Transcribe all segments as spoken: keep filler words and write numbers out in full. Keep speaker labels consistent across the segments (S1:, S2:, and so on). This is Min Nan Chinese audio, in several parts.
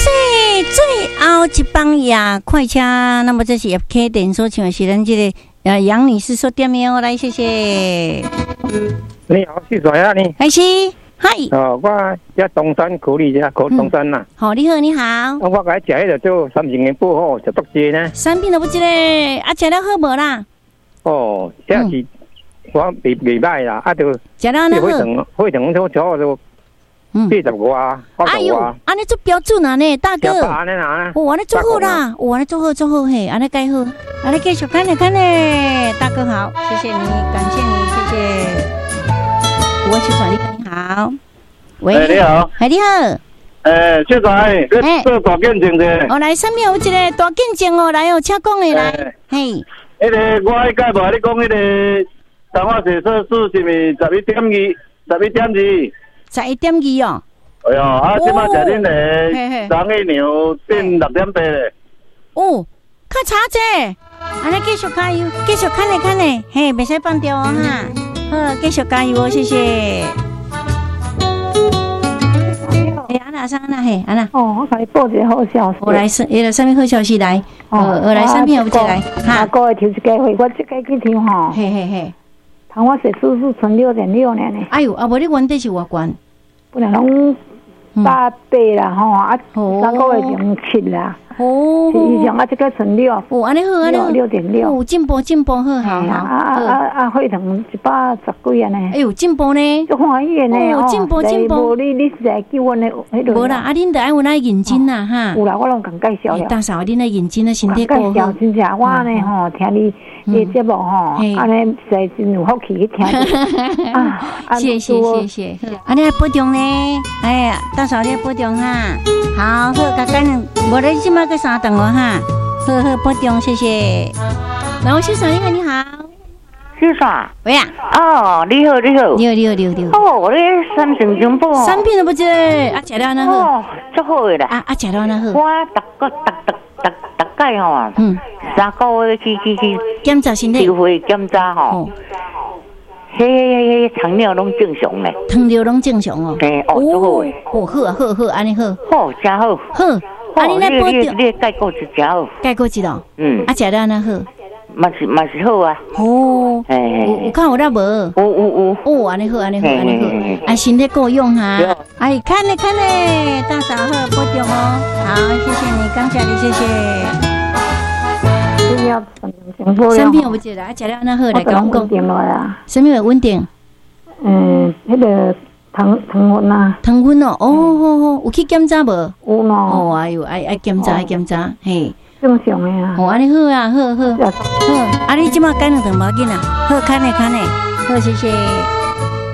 S1: 谢最後一班夜快車，那麼這是葉啟典所唱的是咱這個呃楊女士所點的哦，來謝謝。
S2: 你好，是誰啊你？
S1: 開始，嗨。
S2: 哦，我佇東山苦力遮，苦東山啦。
S1: 好，你好，你好。
S2: 我共食彼个做三星的補好，食足濟呢。
S1: 產品都不這個，啊，食了好無啦？
S2: 哦，這是我袂袂䆀啦，啊，就
S1: 食了哪好？
S2: 血糖血糖都差不多八十外，
S1: 哎喲，按呢足標準啊呢，大哥。
S2: 按呢啦。
S1: 哦，按呢足好啦，哦，按呢足好足好嘿，按呢蓋好，按呢繼續看咧看咧，大哥好，謝謝你，感謝你，謝謝。我是轉你好，喂，
S3: 你好，
S1: 係你好。
S3: 欸，小仔，你做大見證者。
S1: 哦，來，啥物有一個大見證哦，來哦，請講的來，嘿。
S3: 彼個我彼屆無你講彼個糖化血色素是毋是十一點二？十一點二？
S1: 十一點二哦。
S3: 哎喲，啊，這擺食恁个張一娘變六點八咧。
S1: 哦，較差者，按呢繼續加油，繼續看咧看咧，嘿，袂使放掉哦哈。好，繼續加油哦，謝謝。欸，按那啥按那嘿，按那。
S4: 哦，我共你報一个好消息。
S1: 我來是，彼个啥物好消息來？哦，我來啥物有一個來？
S4: 哈，個月抽一家會，我這個去抽吼。
S1: 嘿嘿嘿。
S4: 糖化血色素存六點六呢。
S1: 哎喲，啊無你原底是偌懸？
S4: 本來攏八八啦吼，啊三個月前七啦。
S1: 哦，
S4: 以上啊，這個存六。
S1: 哦，按呢好，按呢好。
S4: 六點六。
S1: 哦，進步進步，好好好。
S4: 啊啊啊！血糖一百十幾按呢。
S1: 哎喲，進步呢。
S4: 足歡喜的呢。
S1: 哦，進步進步。
S4: 無你你是來叫阮的彼個。
S1: 無啦，啊，恁著愛有愛認真啦，哈。
S4: 有啦，我攏共介紹了。
S1: 大嫂，恁愛認真啊，身體顧好。
S4: 真正我呢吼，聽你的節目吼，按呢實在真有福氣去聽。啊，
S1: 謝謝謝謝。啊，你愛保重呢？哎呀，大嫂你愛保重哈。好，好，較緊，無你這擺閣三頓哦哈。好好保重，謝謝。來，我先生，你好，你好。
S5: 先生。
S1: 喂啊。
S5: 哦，你好，你好。
S1: 你好，你好，你好，你好。
S5: 哦，你三星珍寶。
S1: 產品都不知，啊，食了按怎好？
S5: 哦，足好的啦。
S1: 啊啊，食了按怎好？
S5: 我逐個逐逐逐逐擺吼，嗯，三個月去去去
S1: 檢查身體，
S5: 抽血檢查吼。彼彼彼糖尿攏正常咧。
S1: 糖尿攏正常哦。
S5: 嘿，哦，足好的。
S1: 哦，好啊，好好，按呢好。
S5: 好，真好。
S1: 好。啊，你來保重。
S5: 你钙骨質真好。
S1: 钙骨質哦。
S5: 嗯。
S1: 啊，食了按怎好？
S5: 嘛是嘛是好啊。
S1: 哦。有有較有力無？
S5: 有有有。
S1: 哦，按呢好，按呢好，按呢好。啊，身體夠用哈。哎，看咧看咧，大嫂好，保重哦。好，謝謝你，感謝你，謝謝。產品有無食啦？啊，食了按怎好？來共阮講。啥物會穩定？
S4: 嗯，彼個糖糖分啊。
S1: 糖分哦，哦好好，有去檢查無？
S4: 有喏。
S1: 哦，哎喲，愛愛檢查，愛檢查，嘿。
S4: 正常的啊。
S1: 哦，按呢好啊，好好。好，啊，你這擺減兩頓無要緊啊。好，看咧看咧，好，謝謝。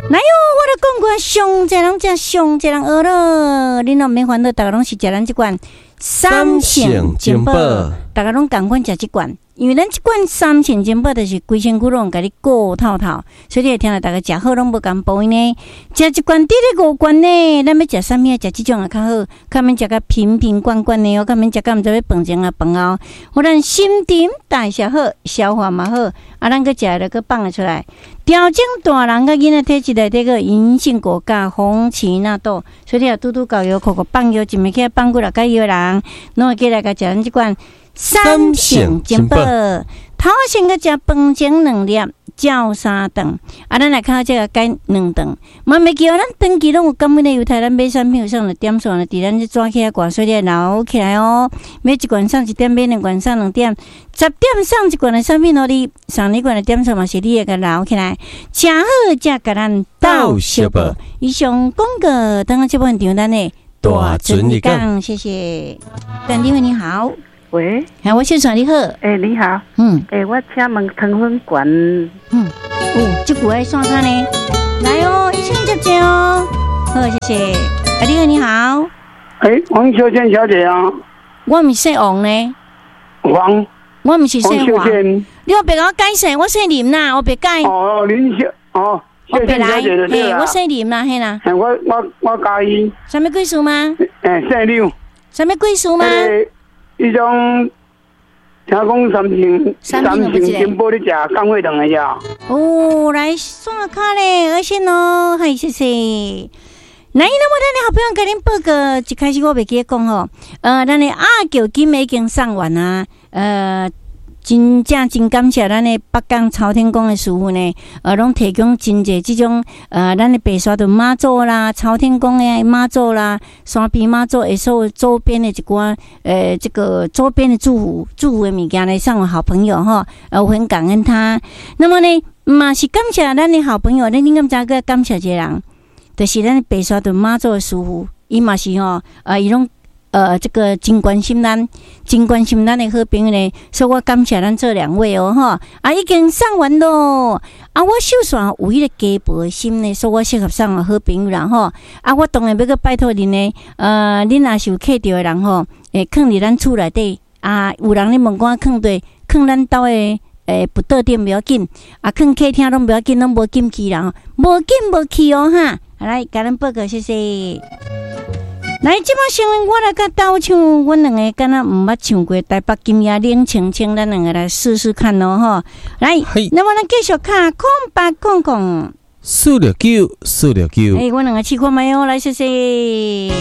S1: 來喲，我咧講過上濟人食，上濟人學咯。恁攏毋免煩惱，逐个攏是食咱這罐三星珍寶，逐个攏仝款食這罐，因為咱這罐三星珍寶就是規身軀攏共你顧透透，所以你會聽著逐个食好攏無仝步呢。食一罐佇咧五罐呢，咱欲食啥物啊？食這種也較好，較免食甲瓶瓶罐罐的哦，較免食甲毋知欲飯前啊飯後。予咱新陳代謝好，消化嘛好，啊，咱閣食了閣放會出來。調整大人佮囡仔體質內底個銀杏果佮紅芪納豆，所以你若拄拄到藥庫閣放藥，一暝起來放幾若個藥人，攏會記來共食咱這罐三星珍寶。頭先閣食飯前兩粒，照三頓。啊，咱來看這個改兩頓。嘛袂記哦，咱長期攏有感恩的猶太，咱買產品有送的點數呢，佇咱這紙起來掛，所以你愛留起來哦。買一罐送一點，買兩罐送兩點，十點送一罐的產品予你，送你一罐的點數嘛是你會共留起來。誠好，才共咱鬥相報。以上廣告，等下這部場咱的
S6: 大船一講，
S1: 謝謝。陳立慧你好。
S7: 喂，
S1: 哎，我先生你好。
S7: 欸，你好。
S1: 嗯。
S7: 欸，我請問糖分懸。
S1: 嗯。哦，這句愛線卡呢？來哦，醫生接接哦。好，謝謝。啊，你好，你好。
S8: 欸，黃秀娟小姐啊。
S1: 我毋是姓王呢。
S8: 黃。
S1: 我毋是姓
S8: 黃秀娟。
S1: 你莫共我改姓，我姓林啦，我別改。
S8: 哦，林秀哦，
S1: 我別來，嘿，我姓林啦，嘿啦。
S8: 我我我介意。
S1: 啥物貴姓嗎？
S8: 欸，姓劉。
S1: 啥物貴姓嗎？
S8: 彼種聽講三星三星珍寶咧食降血糖的呀。
S1: 哦，來線卡咧，而且喏，嗨，謝謝。來，那麼咱的好朋友共恁報告，一開始我袂記得講吼，呃，咱的阿球金已經送完啊，呃。真正真感謝咱的北港朝天宮的師傅呢，呃，攏提供真濟這種呃，咱的白沙屯媽祖啦、朝天宮的媽祖啦、山邊媽祖的所有周邊的一寡呃，這個周邊的祝福祝福的物件來送予好朋友吼，呃，我很感恩他。那麼呢，嘛是感謝咱的好朋友，恁恁敢知閣感謝一個人，就是咱的白沙屯媽祖的師傅，伊嘛是吼，呃，伊攏。呃，這個真關心咱，真關心咱的好朋友呢，所以我感謝咱這兩位哦，吼，啊，已經送完咯，啊，我手上有彼個雞婆的心呢，所以我適合送予好朋友啦，吼，啊，我當然欲閣拜託恁呢，呃，恁若是有客著的人吼，會囥佇咱厝內底，啊，有人咧問我囥佗，囥咱兜的。欸，腹桌頂袂要緊，啊，囥客廳攏袂要緊，攏無禁去啦，無禁無去哦，哈，來，共恁報告，謝謝。來，這擺先我來共鬥唱，阮兩个敢若毋捌唱過台北今夜冷清清，咱兩个來試試看咯，吼。來，那麼咱繼續敲空八空空
S6: 四六九四六九。
S1: 欸，阮兩个試看覓哦，來，謝謝。